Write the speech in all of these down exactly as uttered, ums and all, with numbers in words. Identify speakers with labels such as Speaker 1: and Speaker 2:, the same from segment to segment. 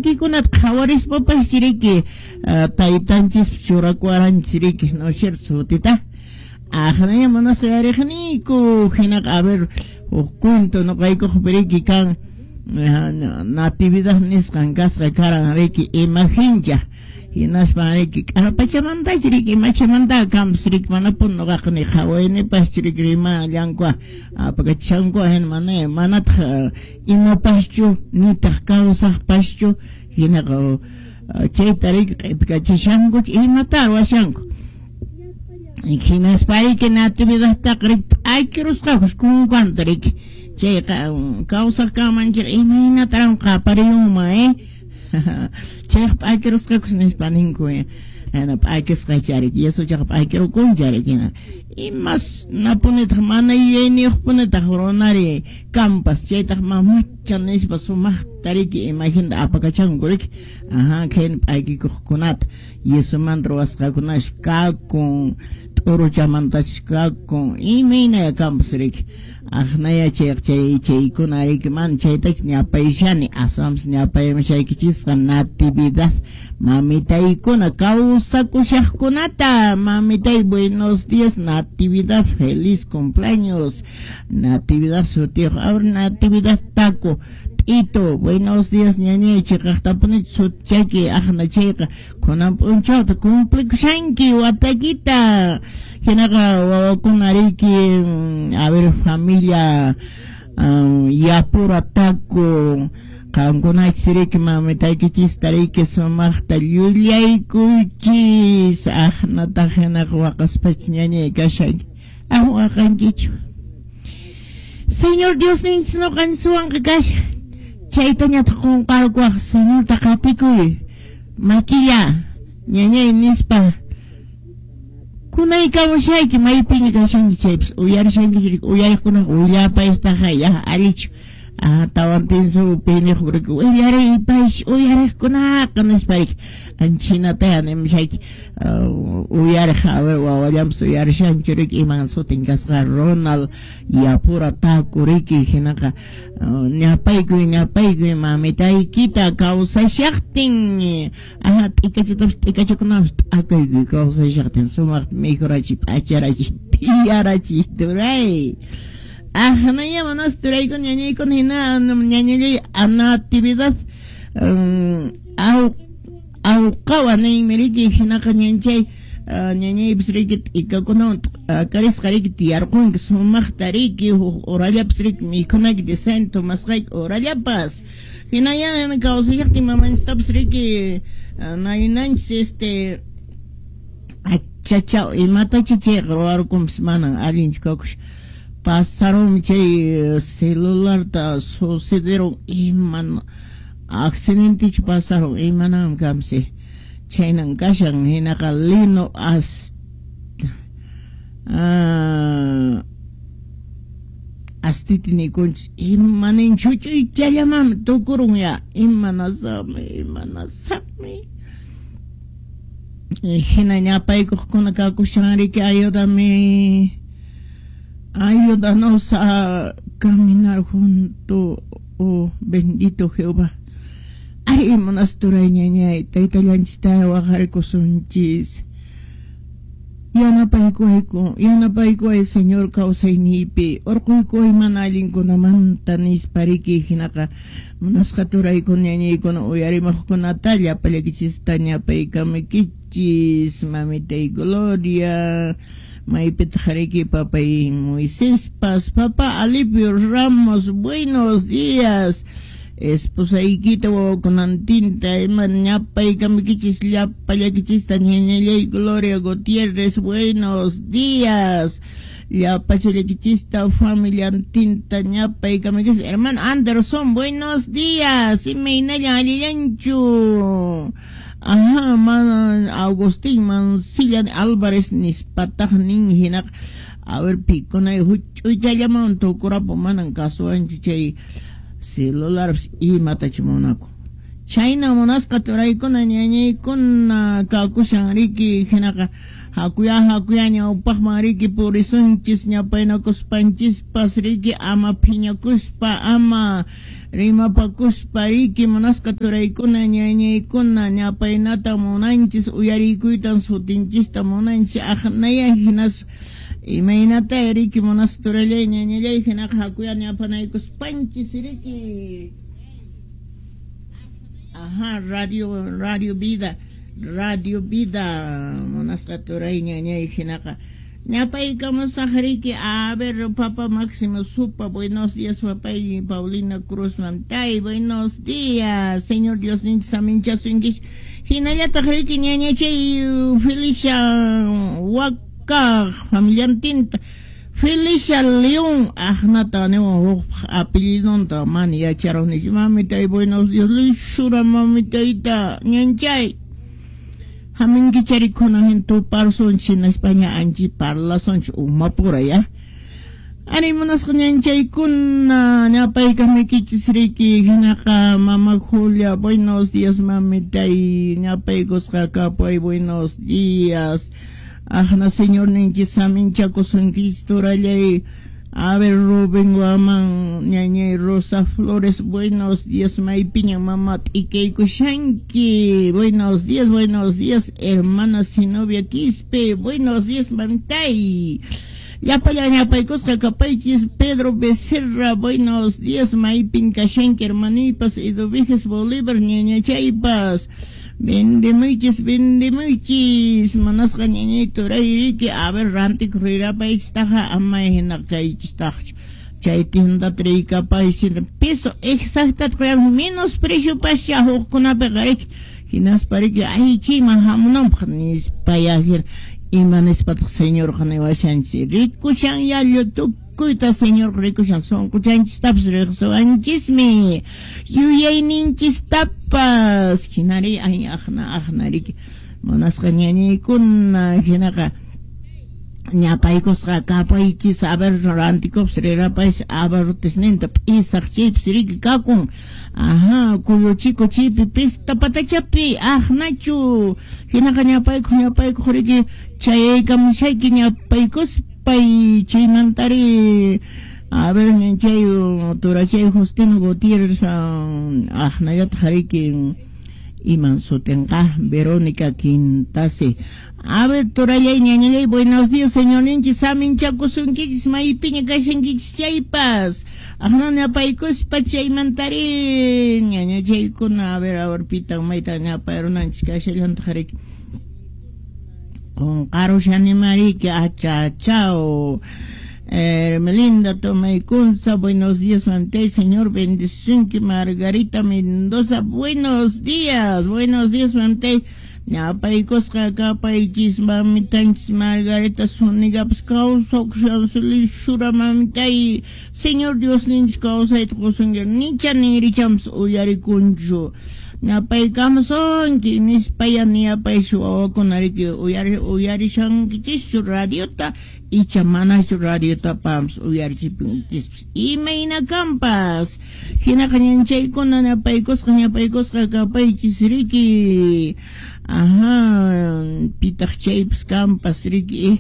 Speaker 1: T'inkikunata qhawarispapas riki taytanchis churakuwaranchis riki, ¿no es cierto? Sutita. Aqnaya munasqa yariqniyku hinaqa a ver huk cuento noqaykuqpi riki kan natividad nisqan kasqa karan riki imagincha hinaspa riki k'arpachamantachu riki imachamanta kampas riki manapuni noqaqa ni qhawaynipas riki rimallanku apakachishanku hina mana manataq imapaschu nitaq kawsaqpaschu hinaqa chayta riki q'ipikachishanku imata ruwashanku. Hinaspa riki natividadtaqa riki p'akirusqakus kunkanta riki chayqa kawsaq kanmanchik imaynataran qapariyunman eh chayqa p'akirusqakus nispa ninku hina p'akisqa riki yesuchaqa p'akirukuncha riki hina imas napunitaq mana yuyayniyuqpunitaq runari kampas chaytaq mamacha nispa sumaqta riki imaginta apakachanku riki aha khayna p'akikuqkunata yesumanta ruwasqakunash kakun t'uruchamantachus kakun imaynaya kampas riki aqnaya chayqa chay chaykuna riki mana chaytachu ñapayshani aswanpas ñapaymashaykichisqa natividad mamitaykuna kawsakushaqkunata mamitay buenos días natividad feliz cumpleaños natividad sutiyuq ahora natividad taco Tito, buenos días ñañay chiqaqtapuni sutchayki aqna chayqa kunan p'unchawta cumplikushanki watakita hinaqa wawakuna riki a ver familia um, yapura taco qankunachis riki mamitaykichista riki sumaqta llullaykuychis aqnataq hinaqa waqaspach ñañay kashanki ah waqankichu Señor Dios ninchis noqanchis kasha chaytañataq qunqarkuwaq Señorta qatikuy makilla ñañay nispa kunaykamushayki maypiña kashanki chaypas uyarishankichik riki uyariqkunaqa willapaystaqa ya allichu ah tawantinsu piniq riki willariypash uyariqkunaqa nispayki anchinataya nimashayki uyariq a ver wawallanpas uyarishanchu riki iman sutin kasqa Ronald Yapura Taku riki hinaqa ñapaykuy ñapaykuy mamitaykita kawsashaqtin aha t'ikachatapas t'ikachakunapas t'akaykuy kawsashaqtin sumaqta mikhurachiy p'acharachiy tiyarachiy turay aqnaya manas turaykuna ñañaykuna hina ñañallay natividad aw awqawa ninmi riki hinaqa ñanchay ñañaypas riki t'ikakunawan t'akarisqa riki tiyarqunki sumaqta riki huk urallapas riki mikhunayki decente tomasqayki urallapas hinaya kawsashaqtin mamanchistapas riki naynanchis este achachaw imatacha chayqa ruwarkunpas manan allinchu kakush pasaron chay celularta sucederon iman accidentichu pasaron imanam kamsi chaynan kashan hinaqa lino as ah, astiti nikunchis imanin chuchuychallamanmi tukurun ya imanasaqmi imanasaqmi hina ñapaykuqkuna kakushan riki ayúdame ayúdanos a caminar junto, oh bendito Jehová. Ay, monasturay ñañay, taytallanchista waqarkusunchis. Yanapaykuwayku, yanapaykuway Señor kawsaynipi, urquykuway mana allinkunamanta nispa riki hinaqa munasqa turaykuna ñañaykuna uyarimaqkunata llapallaykichista ñapaykamuykichis mamitay Gloria. Maypitaq riki papay Moiséspas, papá Alipio Ramos, buenos días. Esposaykita wawakunantinta ima ñapaykamuykichis llapallaykichista ñañallay Gloria Gutiérrez, buenos días. Llapachallaykichista familiantinta ñapaykamuykichis hermano Anderson, buenos días. Imaynallan allillanchu. Ajá, man, Agustín Mancilla Álvarez nispataq nin hinaqa a ver pikunay huch'uychallaman tukurapu manan kasuwanchu chay celularpas imatachu munaku Chayna munasqa turaykuna ñañaykuna kakushan riki hinaqa hakuya hakuya ñawpaqman riki purisunchis ñapaynakuspanchispas riki ama phiñakuspa ama rimapakuspa riki munasqa turaykuna ñañaykuna ñapaynata munanchis uyarikuytan sutinchista munanchis aqnaya hinas imaynata riki munasqa turallay ñañallay hinaqa hakuya ñapanaykuspanchis riki. Ajá, radio, radio vida, radio vida, munasqa turay ñañay hinaqa ñapaykamusaq riki. A ver, papá Máximo Supa, buenos días, papá Paulina Cruz Mantay, buenos días, señor Dios ninchis saminchasunkish hinallataq riki ñañachay Felicia Wakaq familiantinta Felicia León, aqnata niwan huk apellidonta mana yacharunichu. Mamitay, buenos días, lishura mamitayta ñanchay. Haminkichari kunan tuparsunchis hinaspaña anchi parlasunchis umapura ya. Ari munasqa ñanchaykuna ñapaykamuykichis riki hinaqa mama Julia, buenos días mamitay, ñapaykusqa kapuy, buenos días. Aqna señor ninchis saminchakusunkichis turallay. A ver, Rubén Guamán, ñañay Rosa Flores, buenos días, maypiña mamá t'ikaykushanki, buenos días, buenos días, hermana Sinovia Quispe, buenos días, mantay. Llapallan ñapaykusqa kapaychis Pedro Becerra, buenos días, maypin kashanki hermanuypas, Eduviges Bolívar, ñañachaypas. Vendemuychis, vendemuychis, manasqa ñañay turay riki, a ver, rantik rirapaychistaqa ama hina kaychistaqchu. Chay tiendata riykapaychis, peso exactata qoyan menos precio pascha hukkunapiqa riki, hinaspa riki ay chayman hamunanpaq nispaya ima nispataq señorqa niwashanchis, rikushan yallu tukuyta señor rikushan sunquchanchistapas riqsiwanchismi yuyayninchistapas hinari ay aqna aqna riki munasqa ñañaykuna hinaqa ñapaykusqa kapaychis a ver rantikupas rirapaychis abarrotesninta p'isaq chaypis riki kakun. Ajá, kuyuchiku chaypi pista patachapi aqnachu hinaqa ñapaykuq ñapaykuq riki chayaykamushayki ñapaykuspay chaymantari. A ver, chay turachay Justino Gutiérrez aqnallataq riki iman sutinqa Verónica Quintase. A ver, turallay ñañallay, buenos días, señor ninchis saminchakusunkichis maypiña kashankichis chaypas aqna ñapaykuspa chaymantari ñañachaykuna. A ver, a ver, pitan mayta ñapayrunanchis kashallantaq riki qunqarushanima riki achachao. Hermelinda Tomaycunza, buenos días, Mantey, señor bendición. Margarita Mendoza, buenos días, buenos días, Mantey. Ñapaykusqa kapaychis mamitanchis Margarita Zunigapas kawsakushan shura mamitay, señor Dios ninchis kawsayta qusunki nicha ninrichampas uyarikunchu. Ñapaykamusunki nispaya niyapaychu wawakuna riki uyari uyarishankichischu radiota icha manachu radiota pampas uyarichipinkichispas imayna kampas hinaqa ñanchaykuna ñapaykusqa ñapaykusqa kapaychis riki. Ajá, pitaq chaypas kampas riki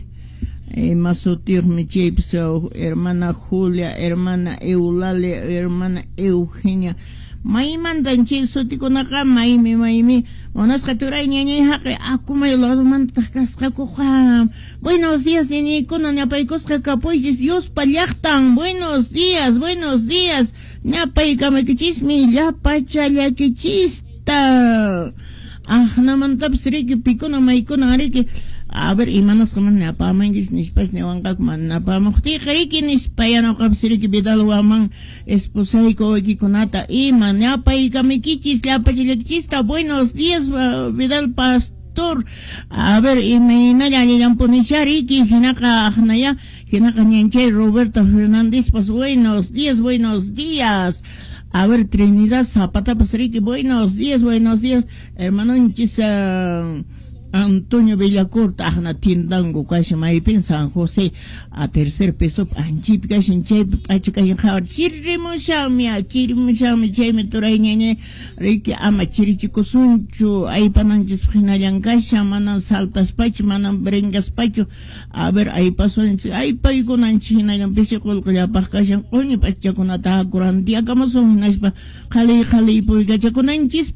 Speaker 1: ima sutiyuqmi chaypas hermana Julia, hermana Eulalia, hermana Eugenia. Maymantan chay sutikunaqa maymi maymi munasqa turay ñañay haqi akumay ladomantaq kasqakuqa. Buenos días ñañaykuna ñapaykusqa kapuychis Diospa llaqtan, buenos días, buenos días, ñapaykamakichismi llapachallakichista. Aqnamantapas riki pikuna maykuna riki a ver imanasqa mana napamankichis nispas niwanqaku mana napamuqtiyqa riki nispaya ñuqapas riki Vidal Waman esposayku wawaykikunata ima ñapaykamaykichis llapachallakichista. Buenos días Vidal Pastor. A ver imaynalla allillanpunicha riki hinaqa aqnaya hinaqa ñanchay Roberto Fernándezpas buenos días, buenos días. A ver, Trinidad Zapata Riki, buenos días, buenos días, hermanonchis uh, Antonio Villacorta aqna tiendanku kashan maypin San José a tercer piso anchipi kashan chaypi p'acha kashan qhawar chirimushanmi chirimushanmi chaymi turay ñañay riki ama chirichikusunchu aypananchispaq hinallan kashan manan saltaspachu manan brincaspachu a ver aypasunchis aypaykunanchis hinallan pisi qullqillapaq kashan q'uñi p'achakunata haku rantiyakamusun hinaspa qhaliy qhaliy puykachakunanchis.